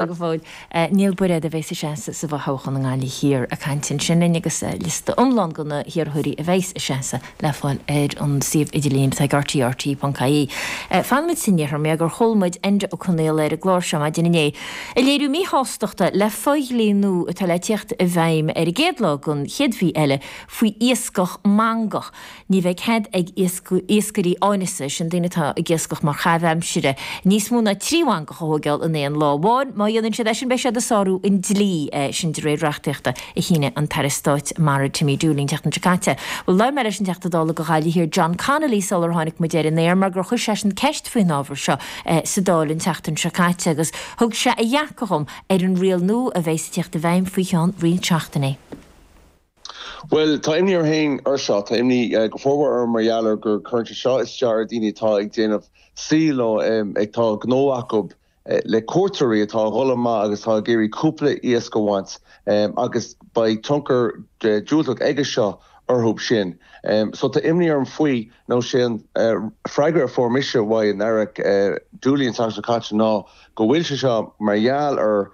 Go fóill. Niall Bairéad a bheas ag seasamh sa bhfothoghchán i nGaillimh Thiar ag caint ansin linn agus liosta iomlán de na hiarrthóirí a bheas ag seasamh le fáil ar an suíomh idirlín atá ag RTÉ, rte.ie. Fanfaimid san iarthar mar gur chuala muid Enda Ó Conaola ar an gclár seo maidin inné ag léiriú míshástachta le fo-dhlí nua atá le tíocht i bhfeidhm ar an gcéad lá den chéad mhí eile faoi iascach mangach. Ní bheidh cead ag iascairí áineasa, sin daoine atá ag iascach mar chaitheamh aimsire, níos mó ná 3 mhangach a thóigeáil in aon lá amháin. Má dhéanann siad é sin beidh siad ag sárú an dlí, sin de réir reachtaíochta a shínigh an tAire Stáit Mara Timmy Dooley an tseachtain seo caite. Bhuel, labhair mé leis an Teachta Dála do Ghaillimh Thiar John Connolly sular tháinig muid ar an aer mar gur chuir seisean ceist faoin ábhar seo sa Dáil an tseachtain seo caite agus thug sé a dhearcadh dhom ar an riail nua a bheas ag tíocht i bhfeidhm faoi cheann roinnt seachtainí. Bhuel, tá imní orm féin ar seo. Tá imní go formhór orm mar gheall ar gur cuireann sé seo isteach ar daoine atá ag déanamh saoil nó atá gnó acu le cuairteoirí atá ag dhul amach agus atá ag iarraidh cúpla iasc a bhaint agus beidh tionchar diúltach aige seo orthu sin. So tá imní orm faoi nó sé an freagra a fuair mise uaidh an Aire Dooley an tseachtain seo caite ná go bhfuil sé seo mar gheall ar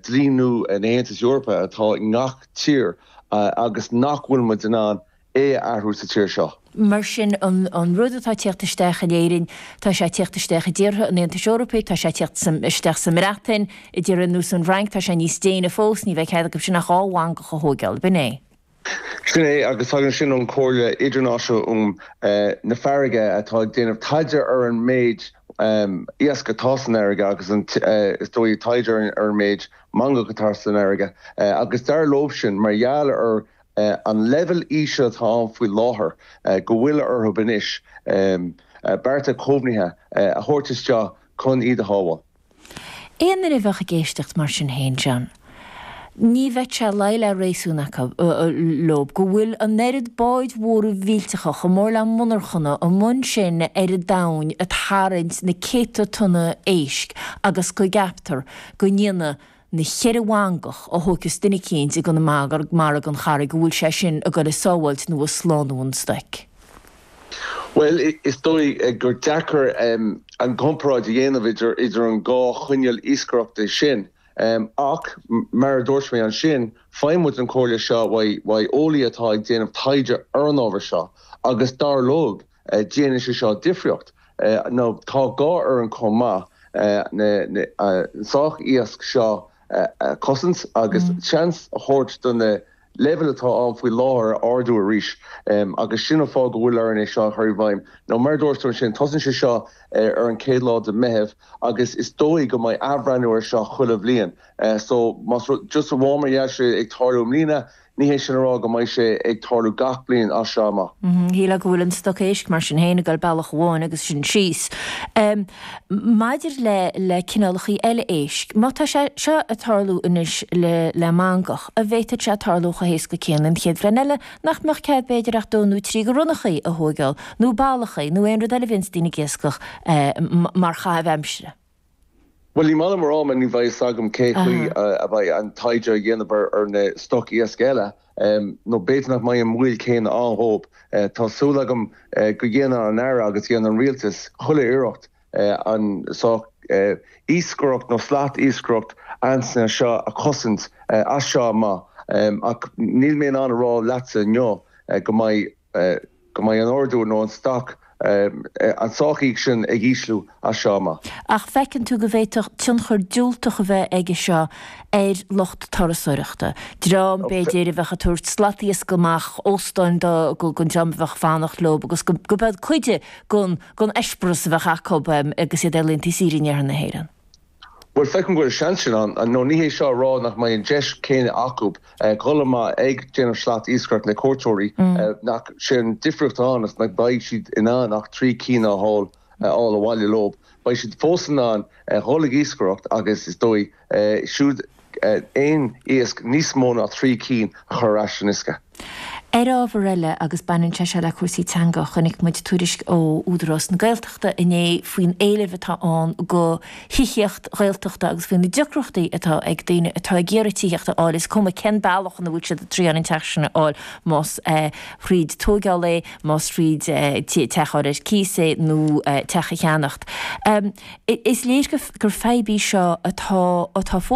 dlí nua an Aontais Eorpaigh atá i ngach tír agus nach bhfuil muid in ann é a athrú sa tír seo. Mar sin, an rud atá ag tíocht isteach in Éirinn, tá sé ag tíocht isteach i dtíortha an Aontais Eorpaigh, tá sé ag tíocht isteach sa mBreatain, i dtíortha ar nós an Fhrainc, tá sé níos déine fós, ní bheidh cead acu sin ach 2 mhangach a thóigeáil, b'in é. Sin é, agus tagann sin ón Chomhairle Idirnáisiúnta um na Farraige atá ag déanamh taighde ar an méid iasc atá san fharraige agus an, is dóigh, taighde ar an méid mangach atá san fharraige agus dar leo sin, mar gheall ar an leibhéal íseal atá ann faoi láthair, go bhfuil orthu anois bearta caomhnaithe a thabhairt isteach chun iad a shábháil. Aon duine a bheadh ag éisteacht mar sin féin, John, ní bheadh sé luí le réasún acu, leo, go bhfuil an oiread báid mhóra mhillteacha, chomh mór le monarchana, amuigh ansin ar an domhain ag tarraingt na céadta tonna éisc agus go gceaptar go ndéanfaidh na cheithre mhangach a thóigfeas duine eicínt i gConamara gon Charraig go bhfuil sé sin ag goil ag sábháilt nó ag slánú an stoic. Bhuel, is dóigh gur deacair an chomparáid a dhéanamh idir an dhá chineál iascaireachta sin. Ach, mar a dúirt mé ansin, faigheann muid an chomhairle seo uaidh eolaí atá ag déanamh taighde ar an ábhar seo agus dar leo, déanann sé seo difríocht. Nó tá gá orainn chomh maith an stoc iasc seo a chosaint agus seans a thabhairt do na leibhéil atá ann faoi láthair a ardú arís agus sin an fáth go bhfuil orainn é seo a chur i bhfeidhm. Nó mar a dúirt tú ansin, tosaíonn sé seo ar an chéad lá de Mheitheamh agus is dóigh go mbeidh athbhreithniú ar seo chuile bhliain. So más rud, just amháin mar gheall sé ag tarlú i mbliana, ní hé sin a rá go mbeidh sé ag tarlú gach bliain as seo amach. Shílfeá go bhfuil an stoc éisc mar sin féin ag dul bealach amháin agus sin síos. Maidir le le cineálachaí eile éisc, má tá sé seo ag tarlú anois le le mangach, an bhféadfadh sé tarlú chomh héasca céanna an chéad bhliain eile nach mbeadh cead b'fhéidir ach dó nó trí de ronnachaí a thóigeáil, nó ballachaí, nó aon rud eile a bhíonns daoine ag iascach mar chaitheamh aimsire? Bhuel, ní maith liom a rá mar ní bheidh fhios agam cé chaoi a bheidh an taighde á dhéanamh ar na stoc iasc eile, nó b'fhéidir nach mbeidh an moill céanna ann dhóibh. Tá súil agam go dhéanann an Aire agus dhéanann an Rialtas chuile iarracht an stoc iascaireacht nó slat iascaireacht ansin seo a chosaint as seo amach ach níl mé in ann a rá leatsa inniu go mbeidh go mbeidh an ardú nó an stoc, an stoc iasc sin ag ísliú as seo amach. Ach feiceann tú go bhféadfadh tionchar diúltach a bheith aige seo ar lucht turasóireachta, dream, b'fhéidir, a bheadh ag tabhairt slat iasc amach óstáin do don dream a bheadh ag fanacht leo agus go b'ead cuid den eispéireas a bheadh acu agus iad ar laethanta saoire in iarthar na hÉireann. Bhuel, feicim go bhfuil seans sin ann, nó ní hé seo a rá nach mbeidh an deis céanna acu dhul amach ag déanamh slat iascaireacht le cuairteoirí, nach sé an difríocht atá ann is nach mbeidh siad in ann ach 3 cinn a fháil abhaile leo. Beidh siad fós in ann dhul ag iascaireacht agus is dóigh siúd aon iasc níos mó ná 3 cinn a chur ar ais san uisce. Ar ábhar eile, agus baineann sé seo le cúrsaí teanga, chonaic muid tuairisc ó Údarás na Gaeltachta inné faoin éileamh atá ann go thithíocht Ghaeltachta agus faoi na deacrachtaí atá ag daoine atá ag iarraidh tithíocht a fháil, is cuma cén bealach ina bhfuil siad ag triáil an teach sin a fháil, más thríd tóigeáil é, más thríd teach a fháil ar cíos é nó teach a cheannacht. Is léir gur fadhb í seo atá atá fós.